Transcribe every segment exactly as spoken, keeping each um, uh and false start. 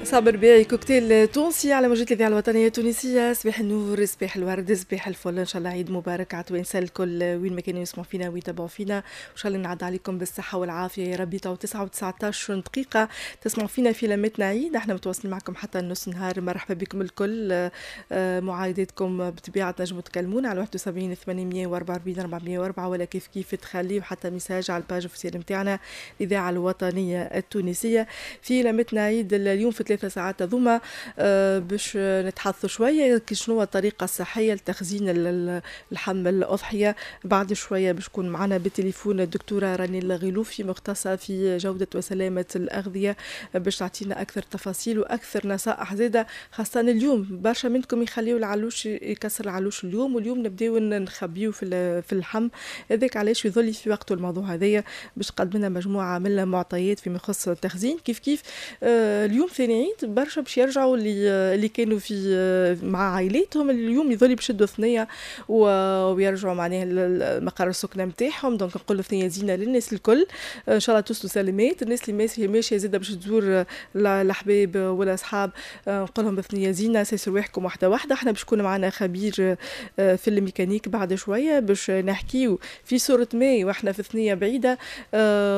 صابر رباعي، كوكتيل تونسي على موجات الاذاعة الوطنية التونسيه. صباح النور، صباح الورد، صباح الفل. ان شاء الله عيد مبارك على توانسة الكل وين ما كانوا يسمعوا فينا ويتابعوا فينا، وان شاء الله نعد عليكم بالصحة والعافية يا ربي. تو تسعة وتسعطاش دقيقة تسمعوا فينا في لمتنا عيد، احنا متواصلين معكم حتى النص نهار. مرحبا بكم الكل، آه، معايداتكم بطبيعة تنجموا تكلمونا على واحد وسبعين ثمانمية وأربعة وأربعين أربعمية وأربعة، ولا كيف كيف تخليوا حتى message على ال page officielle نتاعنا الاذاعة الوطنية التونسيه. في لمتنا عيد اليوم في ثلاثة ساعات هذوما آه، باش نتحدثوا شوية شنو الطريقة الصحية لتخزين اللحم الأضحية. بعد شوية باش تكون معنا بالتليفون الدكتورة راني الغيلوفي، مختصة في جودة وسلامة الأغذية، باش تعطينا أكثر تفاصيل وأكثر نصائح زادة، خاصة اليوم برشا منكم يخليو العلوش، يكسر العلوش اليوم، واليوم نبداو نخبيو في في اللحم. هذاك علاش يظل في وقته الموضوع هذايا باش تقدم لنا مجموعة من المعطيات فيما يخص التخزين. كيف كيف آه، اليوم ثاني عيد، برشا باش يرجعوا اللي اللي كانوا في آه، مع عائلاتهم، اليوم يظل باش يشدوا ثنيه ويرجعوا معناها المقر السكنة نتاعهم. donc نقولوا ثنيه زينة للناس الكل، ان شاء الله توصلوا سلامات. الناس اللي ماشية ماشية زاده باش تزور الاحباب والاصحاب، آه، نقول لهم بثنيه زينه، سايسوا رواحكم واحدة واحده. احنا باش يكون معنا خبير آه، في الميكانيك بعد شوية باش نحكيو في صوره ما واحنا في ثنيه بعيدة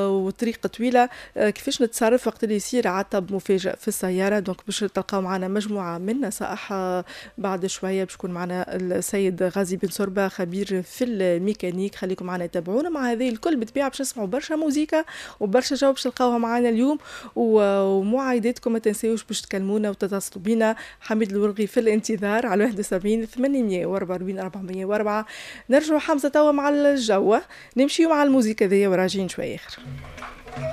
وطريق طويله، كيفاش نتصرف وقت اللي يصير عطب مفاجئ في السياره. donc باش تلقاو معنا مجموعة من نصائح بعد شويه، باش يكون معنا السيد غازي بن سربه، خبير في الميكانيك. خليكم معنا، تابعونا. مع هذه الكل بالطبيعة باش نسمعوا برشا موزيكا وبرشا جو باش تلقاوها معنا اليوم، ومعايداتكم ما تنساوش باش تكلمونا وتتصلوا بينا. حميد الورغي في الانتظار على واحد وسبعين ثمانمية وأربعة وأربعين أربعمية وأربعة. نرجعوا حمزة توا مع الجو، نمشيو مع الموزيكا ذي وراجعين شوية اخر.